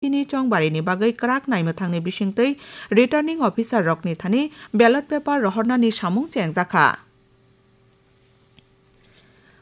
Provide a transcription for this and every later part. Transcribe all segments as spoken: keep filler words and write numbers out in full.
Tini chongbarini bagwi kwrak naimwthangni bisingtwi returning officer rokni thani ballot paper rohornani samung chengjakha.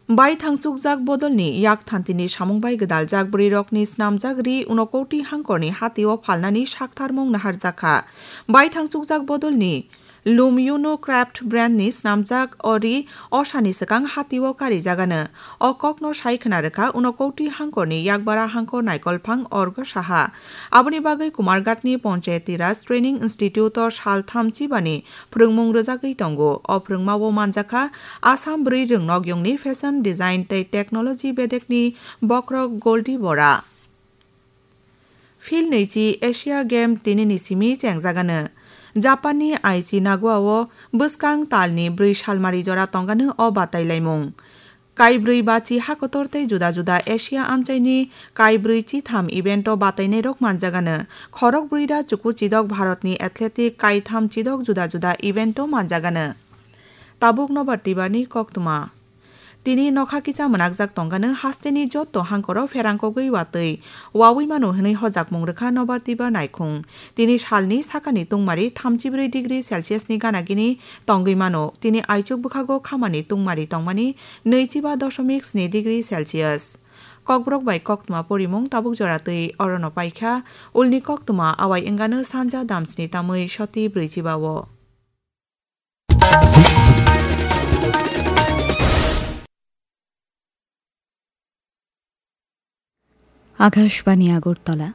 Baithang chukjak bodolni yak thantini samung bai gwdaljak bwrwirokni snamjak ri unokoti hangkorni hatio phalnani saktharmung naharjakha. Baithang chukjak bodolni Lum Uno Craft brandni snamjak o ri osani swkang hatio karijagano. O kokno sai khna rwkha unokoti hangkorni yakbara hangkor naikolphang Orgo Saha. Aboni bagwi Kumarghatni Panchayati Raj Training Institute-o sal thamchi bani phwrwngmung rwjagwi tongo. O phwrwngmao manjakha Assam bwrwi rwngnok yongni fashion design tei technology bedekni bokhorok Goldie Bora. Phil nwichi Asia Game tinini simi chengjagano. Japanni Aichi Nagoa-o bwskang talni bwrwi salmari jora tongano o batailaimung. Kaibrwi bachi hakotor tei juda juda Asia amchaini kaibrwi chitham event-o batainairok manjagano. Khorok brwi da chuku chidok Bharatni athletic kaitham chidok juda juda event-o manjagano. Tabuk nobar tibani koktwma. Tini nokha kisa mwnakjak tongano hasteni jotto hangkoro pherangkogwi watwi wawi mano hwnwi hojakmung rwkha nobar tiba naikhung. Tini salni sakani tungmari thamchibrwi degree Celsius ni gana gini tongwi mano. Tini aichuk bwkhago khamani tungmari tongmani nwichiba dosomik sni degree Celsius. Kokborok bai koktwma porimung tabuk jora twi orono paikha. Ulni koktwma awai wngano sanja damsni tamwi soti brwichiba o. Akashbani Agartala,